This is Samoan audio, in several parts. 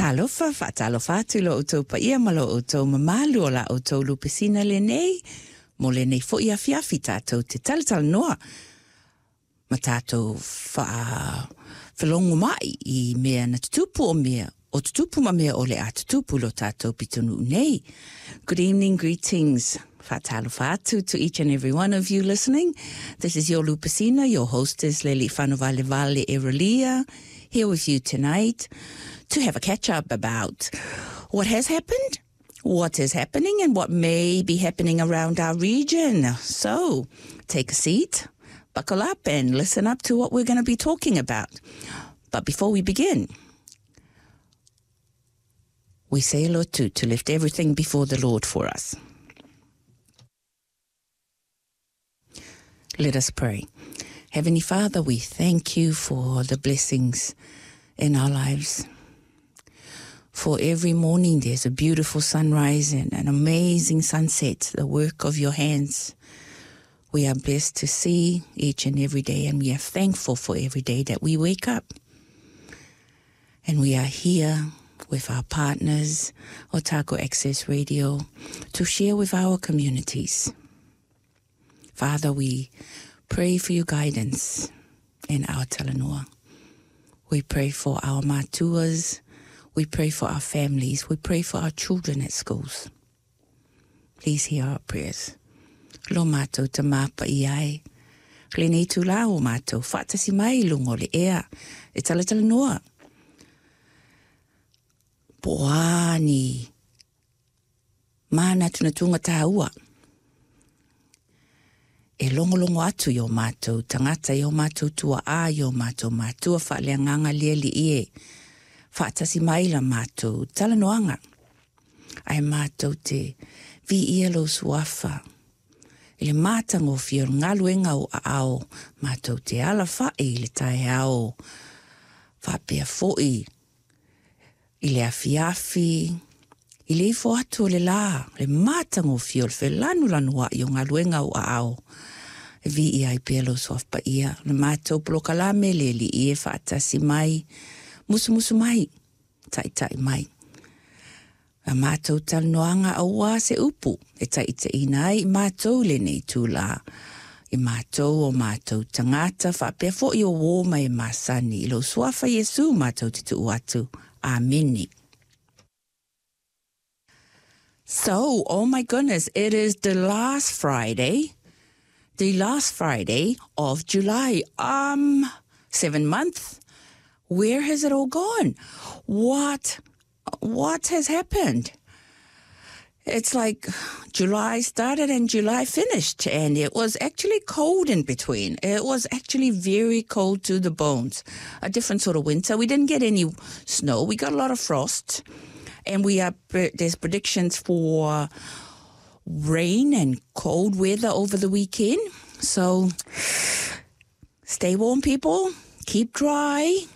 Talofa, faatalofa atu i lo outou paia ma lo outou mamalu o la outou lupesina lenei, mo lenei fo'i afiafi tatou te talatalanoa ma tatou faafelogomai i mea na tutupu o mea o tutupu ma mea o le a tutupu i lo tatou pitonuu nei. Good evening, greetings. Faatalofa atu to each and every one of you listening. This is your Lupesina, your hostess Leli Whanuvalevale Erelia, here with you tonight to have a catch up about what has happened, what is happening, and what may be happening around our region. So take a seat, buckle up, and listen up to what we're going to be talking about. But before we begin, we say a lotu to lift everything before the Lord for us. Let us pray. Heavenly Father, we thank you for the blessings in our lives. For every morning there's a beautiful sunrise and an amazing sunset, the work of your hands. We are blessed to see each and every day, and we are thankful for every day that we wake up. And we are here with our partners, Otago Access Radio, to share with our communities. Father, we pray for your guidance in our talanoa. We pray for our matuas. We pray for our families. We pray for our children at schools. Please hear our prayers. Lo mātou Tama Paia e. Lenei itulā o mātou faatasi mai i luga o le ea e talatalanoa. Po o a ni mānatunatuga tāua e logologo atu i o mātou tagata, i o mātou tuaā, i o mātou matua faaleagaga lialii e faatasi mai la mātou talanoaga. Ae mātou te viia lou suafa i le matagofie o le galuega o aao matou te alafa'i i le taeao faapea fo'i i le afiafi i le ifo atu o le lā, le matagofie o le felanulanua'i o galuega o aao e viia ai pea lou suafa paia. Le matou polokalame le alii e faatasi mai, musumusu mai, taita'i mai. A matou talanoaga aua se upu e taitaiina ai i matou i lenei itulā, i matou o matou tagata faapea fo'i o uō ma e masani i lou Suafa Iesu matou te tuu atu. Amene. So, oh my goodness, it is the last Friday, the last Friday of July. 7 months. Where has it all gone? What, what has happened? It's like July started and July finished, and it was actually cold in between. It was actually very cold to the bones. A different sort of winter. We didn't get any snow. We got a lot of frost, and we are there's predictions for rain and cold weather over the weekend. So stay warm, people. Keep dry.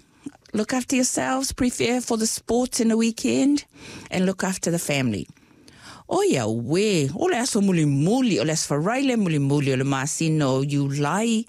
Look after yourselves. Prepare for the sports in the weekend, and look after the family. O ia uē, o le aso mulimuli, o le aso Faraile mulimuli o le masina o Iulai.